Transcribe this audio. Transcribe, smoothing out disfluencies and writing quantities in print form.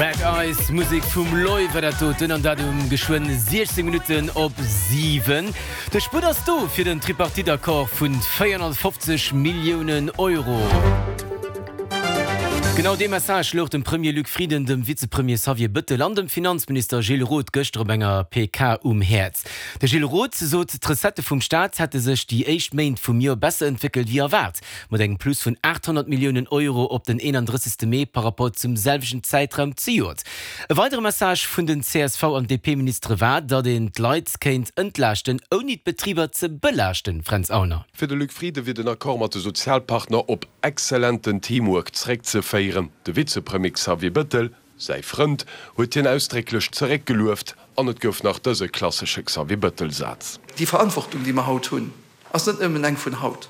Red Eyes, Musek vum Loy war dat doten, an dat um geschwënn 16 Minutten op 7. De Sputt ass do fir den Tripartite-Accord vun 450 Milliounen Euro. Genau dee Message louch dem Premier Luc Frieden, dem Vizepremier Xavier Bëttel an dem Finanzminister Gilles Roth gëschter op enger PK um Häerz. De Gilles Roth sot, d'Recettë vum Staat hätte sech déi éischt Méint vum Joer besser entwéckelt wéi erwaart, mat engem Plus vun 800 Milliounen Euro op den 31. Mee par Rapport zum selwechten Zäitraum zejoert. E weidere Message vun den csv an DP-Ministere war, datt een d'Leit kéint entlaaschten, ouni d'Betriber ze belaaschten. Fränz Aulner. Fir de Luc Frieden wier den Accord mat de Sozialpartner op exzellenten Teamwork zeréckzeféieren. De Vizepremier Xavier Bëttel, säi Frënd, huet hien ausdrécklech zeréckgelueft an et gouf nach dëse klassesche Xavier Bëttel-Saz. Déi Verantwortung, déi mer haut hunn, ass net nëmmen eng vun haut.